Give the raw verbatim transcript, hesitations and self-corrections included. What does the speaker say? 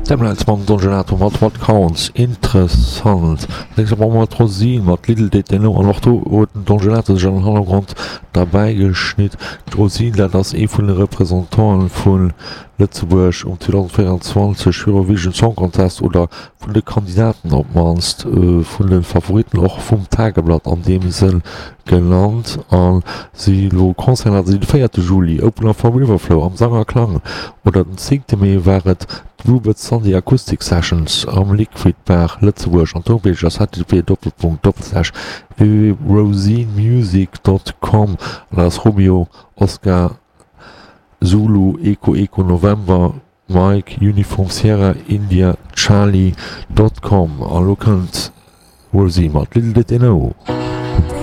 D'Emeralds mam Don Gelato mat What Counts, interessant. Nächste brauche mer d'Rosine mat Little Did They Know an och do huet den Don Gelato sech an den Hannergrond derbäi geschnitt. D'Rosine, dat ass ee vun de Representanten vu Lëtzebuerg um zweedausendvéierundzwanzeg Eurovision Song Contest oder vun de Kandidaten op d'mannst, vun de Favoritten och vum Tageblatt an deem Sënn genannt. A si elo Concerten haten si de véierte Juli, Opener for Riverflow am Sang a Klang oder den zéngte Mee war et d'Bluebird Sunday Acoustic Sessions am Liquid Bar Lëtzebuerg an d'Homepage ass http Doppelpunkt Doppelslash www.rosinemusic dot com an dat ass Romeo Oscar Zulu Echo Echo November Mike Uniform Sierra India Charlie dot com. An elo kënnt Rosie mat Little Did They Know.